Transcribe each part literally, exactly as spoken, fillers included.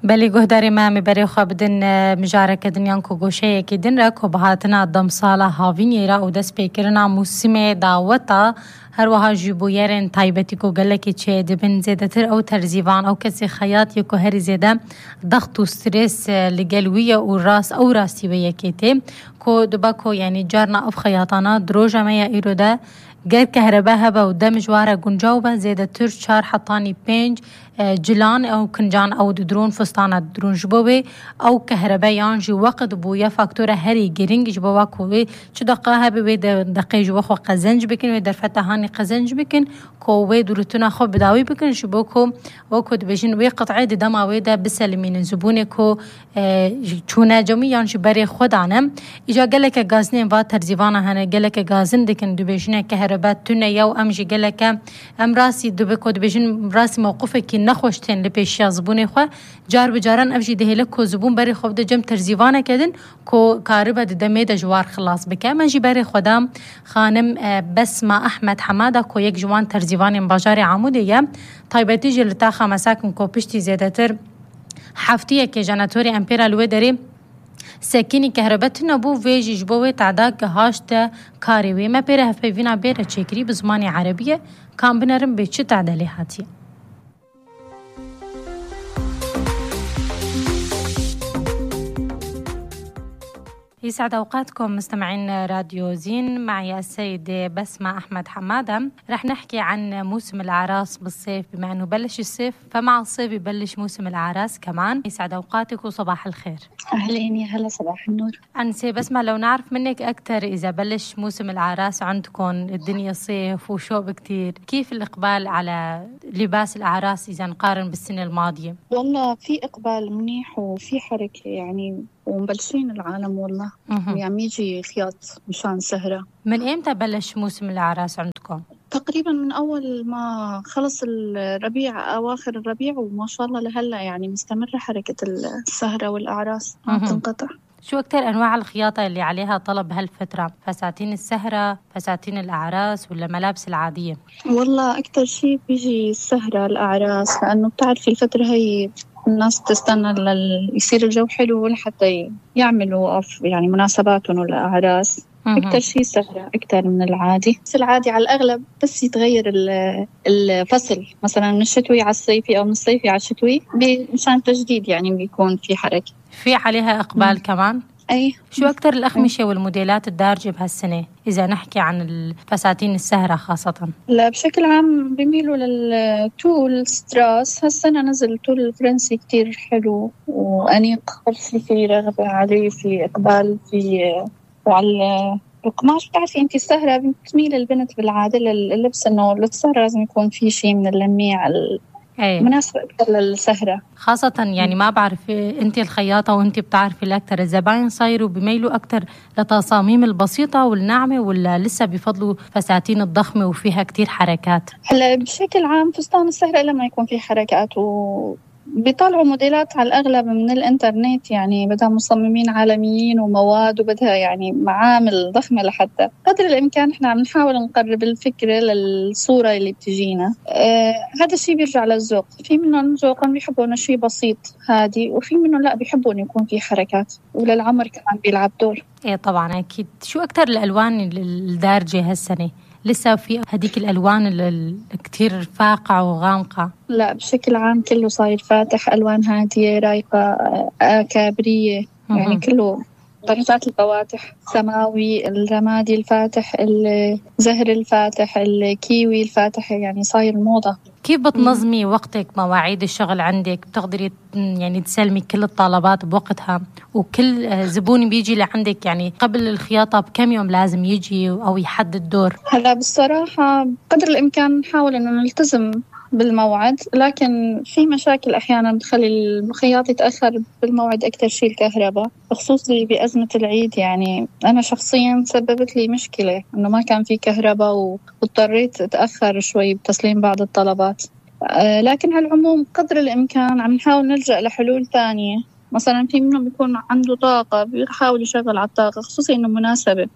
بلی گهداری ما میبری خواب دن مجارک دنیان کو گوشه کی دن را کو بهاتنا دم سالا هاوینی را او دست پیکرنا موسم دعوتا هر وها جبویرن تایبتی کو گله کی چه دبن زیاده تر او ترزیوان او کسی خیاط یکو هر زیاده ضغط و استرس لگلویه او راس او راستی و یکیته کو دبا کو یعنی جارنا اف خیاطانا دروجه ما یا ایرو ده غير كهرباء هبا ودم جوارة جنجاوبة زيادة تر شار حطاني بينج جلان أو كنجان أو درون فستانة درون جبوبي أو كهرباء يانجي وقت بويا فاكتورة هري جرينج جبوا كوي شو دقاها بوي دقي جوا خو قزنج بكن ودرفتا هاني قزنج بكن كوي دورتنا خو بداوي بكن شبوكو وكو دبجين وي قطعي دما ويدا بسلمين زبوني كو چونا جمي يانجي بري خدانا إجا قالك غازنين فا ترزيوانا هنا قالك غازن دكن دبجين كهرباء تونه يو أمجي قالك أم راسي دبكو دبجين راسي موقفك نخوشتن لپیشیا زبون خو جار بجاران افجی دهله کو زبون بری خو د جم ترزیوانه کدن کو کاربه د دمه د جوار خلاص بک من جی بری خدام خانم بسمه احمد حماده کو یک جوان ترزیوان بازار عمودیه طيبتي جلتا خمساکن کو پشتی زیادتر هفتیه که جناتوری امپیرال و دری سکینی كهربت نبو ويجي جبوه تعداك هاشتا كاريوي ما بيره هفيفينا بيره تشكري بزماني عربية كان بنرم بيتش تعدالي هاتي يسعد أوقاتكم مستمعين راديو زين. معي السيدة بسمة أحمد حمادة. رح نحكي عن موسم الأعراس بالصيف، بما أنه بلش الصيف فمع الصيف يبلش موسم الأعراس كمان. يسعد أوقاتك وصباح الخير. أهلين يا هلا، صباح النور. أنسي بسمة، لو نعرف منك أكتر إذا بلش موسم الأعراس عندكم الدنيا صيف وشوب كتير، كيف الإقبال على لباس الأعراس إذا نقارن بالسنة الماضية؟ والله في إقبال منيح وفي حركة يعني، ومبلشين العالم والله يعني يجي خياط مشان سهرة. من إمتى بلش موسم الأعراس عندكم؟ تقريبا من أول ما خلص الربيع، أواخر الربيع، وما شاء الله لهلا يعني مستمرة حركة السهرة والأعراس ما تنقطع. شو أكتر أنواع الخياطة اللي عليها طلب هالفترة؟ فساتين السهرة، فساتين الأعراس، ولا ملابس العادية؟ والله أكتر شيء بيجي السهرة الأعراس، لأنه بتعرفي الفترة هي الناس تستنى يصير الجو حلو لحتى يعملوا يعني مناسباتهم والأعراس. أكتر شيء سهرة أكتر من العادي. بس العادي على الأغلب بس يتغير الفصل، مثلا من الشتوي على الصيفي أو من الصيفي على الشتوي مشان تجديد يعني بيكون في حركة. في عليها إقبال مم. كمان. أي. شو أكتر الأخمشة والموديلات الدارجة بهالسنة إذا نحكي عن الفساتين السهرة خاصة؟ لا بشكل عام بيميلوا للتول ستراس. هالسنة نزل تول الفرنسي كتير حلو وأنيق، في في رغبة عليه، في إقبال في، وعلى القماش. بتعرفي أنت السهرة بتميل البنت بالعادة لللبس إنه للسهرة لازم يكون في شيء من اللميع أيه. مناسبة أكثر للسهرة خاصة يعني. ما بعرف أنت الخياطة وأنت بتعرفي الأكثر، الزباين صايروا بيميلوا أكثر لتصاميم البسيطة والناعمة، ولا لسه بيفضلوا فساتين الضخمة وفيها كتير حركات؟ هلا بشكل عام فستان السهرة لما يكون فيه حركات، و بيطلعوا موديلات على الأغلب من الإنترنت، يعني بدها مصممين عالميين ومواد، وبدها يعني معامل ضخمة لحتى قدر الإمكان إحنا عم نحاول نقرب الفكرة للصورة اللي بتجينا. آه هذا الشيء بيرجع للذوق. في منهم ذوقا بيحبون شيء بسيط هادي، وفي منهم لا بيحبون يكون في حركات، وللعمر كمان بيلعب دور. إيه طبعا أكيد. شو أكتر الألوان الدارجة هالسنة؟ لسه في هديك الألوان الكتير فاقعة وغامقة؟ لا بشكل عام كله صاير فاتح، ألوان هادية رايقة، آه كابرية، يعني كله درجات الفواتح، سماوي، الرمادي الفاتح، الزهر الفاتح، الكيوي الفاتح، يعني صاير موضة. كيف بتنظمي وقتك، مواعيد الشغل عندك؟ بتقدري يعني تسلمي كل الطلبات بوقتها، وكل زبون بيجي لعندك يعني قبل الخياطة بكم يوم لازم يجي أو يحدد دور؟ هلا بالصراحة قدر الإمكان نحاول إنه نلتزم بالموعد، لكن في مشاكل أحيانا بتخلي الخياط يتأخر بالموعد. أكتر شيء الكهرباء، بخصوص بأزمة العيد. يعني أنا شخصيا سببت لي مشكلة إنه ما كان في كهرباء واضطريت أتأخر شوي بتسليم بعض الطلبات. أه لكن على العموم قدر الإمكان عم نحاول نلجأ لحلول تانية. مثلا في منهم بيكون عنده طاقة بيحاول يشغل على الطاقة، خصوصا إنه مناسبة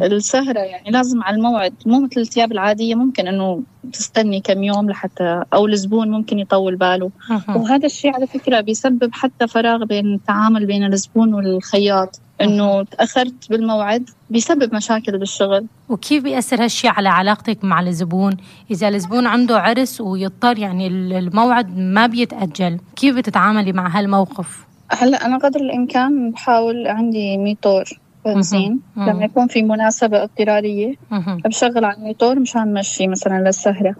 السهرة يعني لازم على الموعد، مو مثل الثياب العادية ممكن إنه تستني كم يوم لحتى، أو الزبون ممكن يطول باله. وهذا الشيء على فكرة بيسبب حتى فراغ بين التعامل بين الزبون والخياط، إنه تأخرت بالموعد بيسبب مشاكل بالشغل. وكيف بيأثر هالشي على علاقتك مع الزبون؟ إذا الزبون عنده عرس ويضطر يعني الموعد ما بيتأجل، كيف بتتعاملي مع هالموقف؟ هلأ أنا قدر الإمكان بحاول عندي ميتور بنزين لما يكون في مناسبة اضطرارية بشغل على الميتور مشان مشي مثلا للسهرة.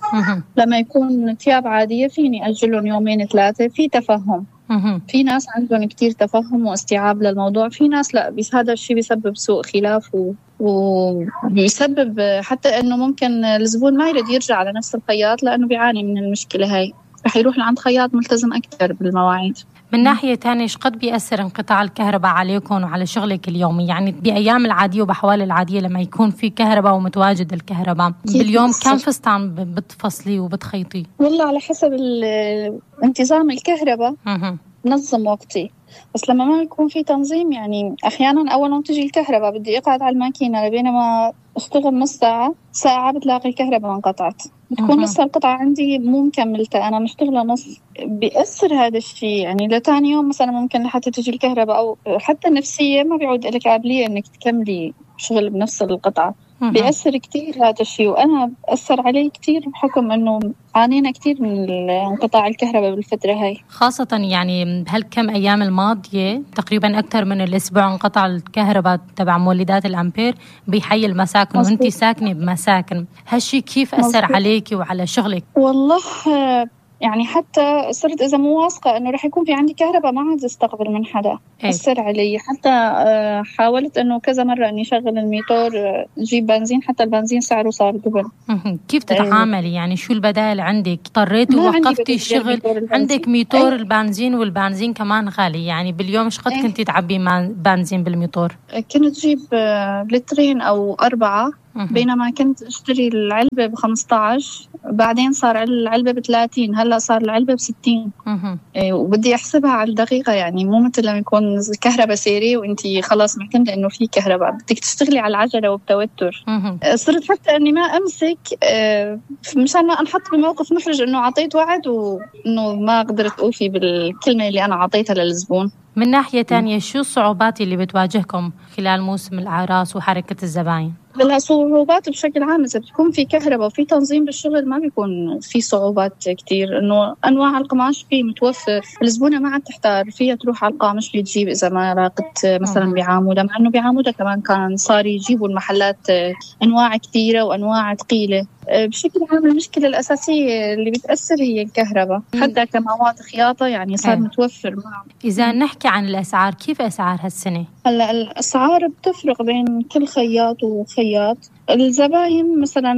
لما يكون ثياب عادية فيني أجلهم يومين ثلاثة في تفهم. في ناس عندهم كتير تفهم واستيعاب للموضوع، في ناس لا، بس هذا الشيء بيسبب سوء خلاف و... وبيسبب حتى إنه ممكن الزبون ما يريد يرجع على نفس الخياط لأنه بيعاني من المشكلة هاي، رح يروح لعند خياط ملتزم أكثر بالمواعيد. من ناحية تانية إيش قد بيأثر انقطاع الكهرباء عليكم وعلى شغلك اليومي؟ يعني بأيام العادية وبحوال العادية لما يكون في كهرباء ومتواجد الكهرباء باليوم كم فستان بتفصلي وبتخيطي؟ والله على حسب انتظام الكهرباء نظم وقتي، بس لما ما يكون في تنظيم يعني أحيانا أول ما تجي الكهرباء بدي أقعد على الماكينة لبينما أشتغل نص ساعة ساعة بتلاقي الكهرباء انقطعت، بتكون لسه القطعة عندي مو مكملتها، أنا مشتغلة نص. بيأثر هذا الشيء يعني لتاني يوم مثلا ممكن لحتى تجي الكهرباء، أو حتى النفسية ما بيعود لك قابلية إنك تكملي شغل بنفس القطعة. بيأثر كتير هذا الشيء، وأنا أثر علي كتير بحكم أنه عانينا كتير من انقطاع الكهرباء بالفترة هاي، خاصة يعني هالكم أيام الماضية تقريبا أكثر من الأسبوع انقطع الكهرباء تبع مولدات الأمبير بحي المساكن، وأنتي ساكنة بمساكن. هالشي كيف أثر عليكي وعلى شغلك؟ والله يعني حتى صرت إذا مو واثقة إنه رح يكون في عندي كهرباء ما عاد استقبل من حدا. أثر علي، حتى حاولت إنه كذا مرة إني شغل الميتور جيب بنزين، حتى البنزين سعره صار دبل. كيف تتعاملي يعني؟ شو البدائل عندك؟ اضطريتي ووقفتي الشغل؟ عندك ميتور أي. البنزين والبنزين كمان غالي، يعني باليوم إيش قد كنتي تعبي بنزين بالميتور؟ كنت جيب لترين أو أربعة، بينما كنت اشتري العلبة بخمسة عشر، بعدين صار العلبة بثلاثين، هلا صار العلبة بستين. إيه، وبدي احسبها على الدقيقة، يعني مو مثل لما يكون الكهرباء سيري وانتي خلاص معتمدة انه في كهرباء، بدك تشتغلي على العجلة وبتوتر. صرت حتى اني ما امسك مشان ما انحط بموقف محرج انه عطيت وعد وانه ما قدرت اوفي بالكلمة اللي انا عطيتها للزبون. من ناحية تانية شو الصعوبات اللي بتواجهكم خلال موسم الأعراس وحركة الزباين؟ الصعوبات بشكل عام إذا بتكون في كهرباء وفي تنظيم بالشغل ما بيكون في صعوبات كتير، إنه أنواع القماش فيه متوفر، الزبونة ما عاد تحتار فيها تروح على القامش بتجيب إذا ما لاقت مثلا بعامودة، مع إنه بعامودة كمان كان صار يجيبوا المحلات أنواع كثيرة وأنواع ثقيلة. بشكل عام المشكلة الأساسية اللي بتأثر هي الكهرباء، حتى كمواد خياطة يعني صار متوفر معه. إذا نحكي عن الأسعار، كيف أسعار هالسنة؟ هلا الأسعار بتفرق بين كل خياط وخياط. الزباين مثلا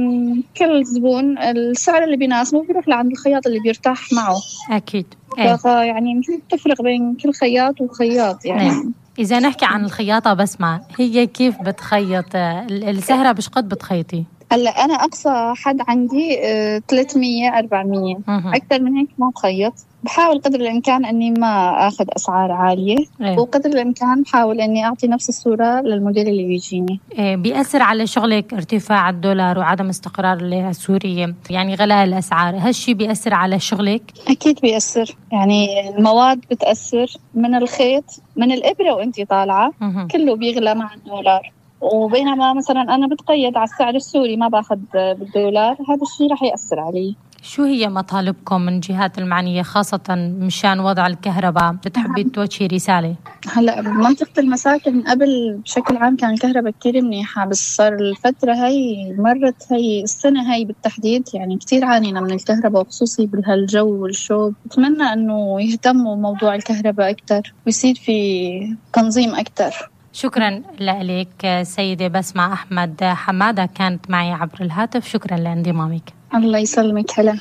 كل زبون السعر اللي بيناسبه بيروح لعند الخياط اللي بيرتاح معه. أكيد. يعني بتفرق بين كل خياط وخياط يعني. أه. إذا نحكي عن الخياطة بسمة، هي كيف بتخيط السهرة؟ بش قد بتخيطي؟ هلا أنا أقصى حد عندي ثلاثمية أربعمية، أكثر من هيك ما بخيط. بحاول قدر الإمكان أني ما أخذ أسعار عالية. أيه. وقدر الإمكان بحاول أني أعطي نفس الصورة للموديل اللي بيجيني. إيه بيأثر على شغلك ارتفاع الدولار وعدم استقرار الليرة السورية، يعني غلاء الأسعار، هالشي بيأثر على شغلك؟ أكيد بيأثر، يعني المواد بتأثر، من الخيط من الإبرة وأنتي طالعة كله بيغلى مع الدولار، وبينما مثلا أنا بتقيد على السعر السوري ما باخد بالدولار، هذا الشيء رح يأثر علي. شو هي مطالبكم من جهات المعنية خاصة مشان وضع الكهرباء؟ بتحبي توجهي رسالة؟ هلا بمنطقة المساكن قبل بشكل عام كان الكهرباء كتير منيحة، بس صار الفترة هاي مرت هاي السنة هاي بالتحديد يعني كتير عانينا من الكهرباء، وخصوصي بهالجو والشوب. بتمنى أنه يهتموا موضوع الكهرباء أكتر ويصير في تنظيم أكتر. شكرا لك سيدة بسمة أحمد حمادة، كانت معي عبر الهاتف. شكرا لانضمامك. الله يسلمك. هلا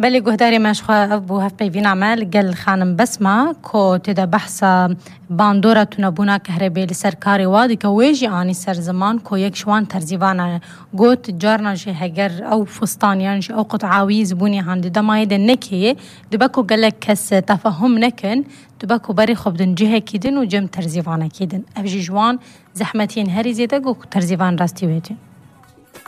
بلی گهداری مشخواه بو هف پیوین عمل گل خانم بسمه که تدا بحثا باندورا تونبونا کهربی لسرکاری وادی که ویجی آنی سر زمان که یک شوان ترزیوانا گوت جارنا جه هگر او فستانیان جه او قطعاوی زبونی هندی دمایده نکیه دبکو گلک کس تفهم نکن دبکو بری خوب دن جه کیدن و جم ترزیوانا کیدن افجی جوان زحمتین هری زیده گو ترزیوان راستی ویدن